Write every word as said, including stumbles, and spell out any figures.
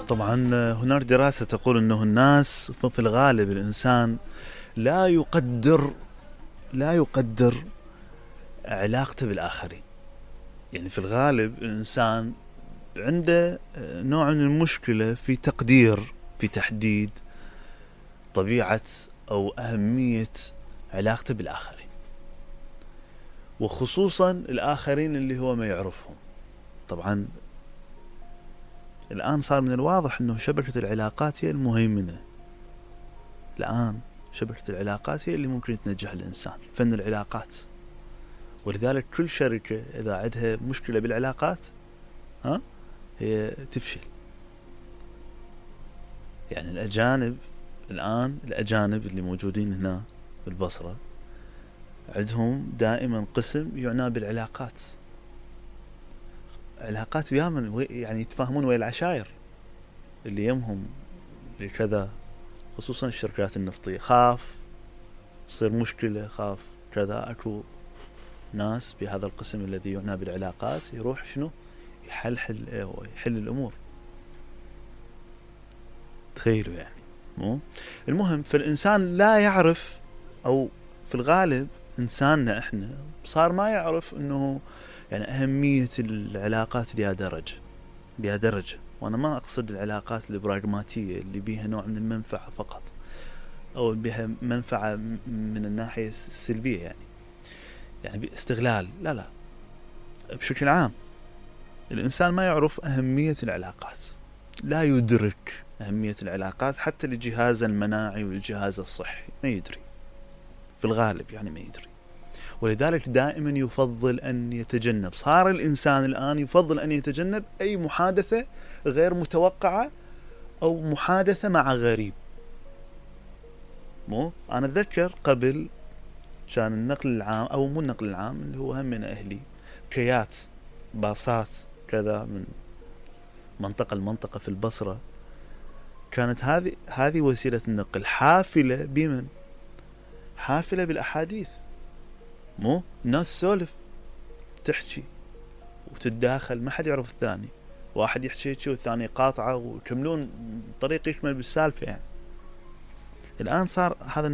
طبعا هناك دراسة تقول انه الناس في الغالب الانسان لا يقدر لا يقدر علاقته بالاخرين. يعني في الغالب الانسان عنده نوع من المشكلة في تقدير في تحديد طبيعة او اهمية علاقته بالاخرين، وخصوصا الاخرين اللي هو ما يعرفهم. طبعا الآن صار من الواضح أنه شبكة العلاقات هي المهيمنة. الآن شبكة العلاقات هي اللي ممكن تنجح الإنسان، فن العلاقات. ولذلك كل شركة إذا عندها مشكلة بالعلاقات ها هي تفشل. يعني الأجانب الآن الأجانب اللي موجودين هنا بالبصرة عندهم دائما قسم يعنى بالعلاقات. علاقات بيامن يعني يتفاهمون ويا العشائر اللي يمهم لكذا، خصوصا الشركات النفطية. خاف تصير مشكلة، خاف كذا، اكو ناس بهذا القسم الذي يعنى بالعلاقات يروح شنو يحلحل يحل الامور. تخيلوا يعني. مو المهم، فالانسان لا يعرف، او في الغالب انساننا احنا صار ما يعرف انه يعني أهمية العلاقات لها درجة لها درجة وأنا ما أقصد العلاقات البراغماتية اللي بيها نوع من المنفعة فقط، أو بيها منفعة من الناحية السلبية، يعني يعني استغلال. لا لا، بشكل عام الإنسان ما يعرف أهمية العلاقات، لا يدرك أهمية العلاقات حتى لجهاز المناعي والجهاز الصحي ما يدري في الغالب، يعني ما يدري. ولذلك دائما يفضل أن يتجنب، صار الإنسان الآن يفضل أن يتجنب أي محادثة غير متوقعة أو محادثة مع غريب. مو أنا أتذكر قبل كان النقل العام، أو مو النقل العام اللي هو هم من أهلي، كيات باصات كذا من منطقة لمنطقة في البصرة، كانت هذه هذه وسيلة النقل حافلة بمن؟ حافلة بالأحاديث. مو الناس سولف تحكي وتتداخل، ما حد يعرف الثاني، واحد يحكي شيء والثاني قاطعه ويكملون طريق يكمل بالسالفة. يعني الآن صار هذا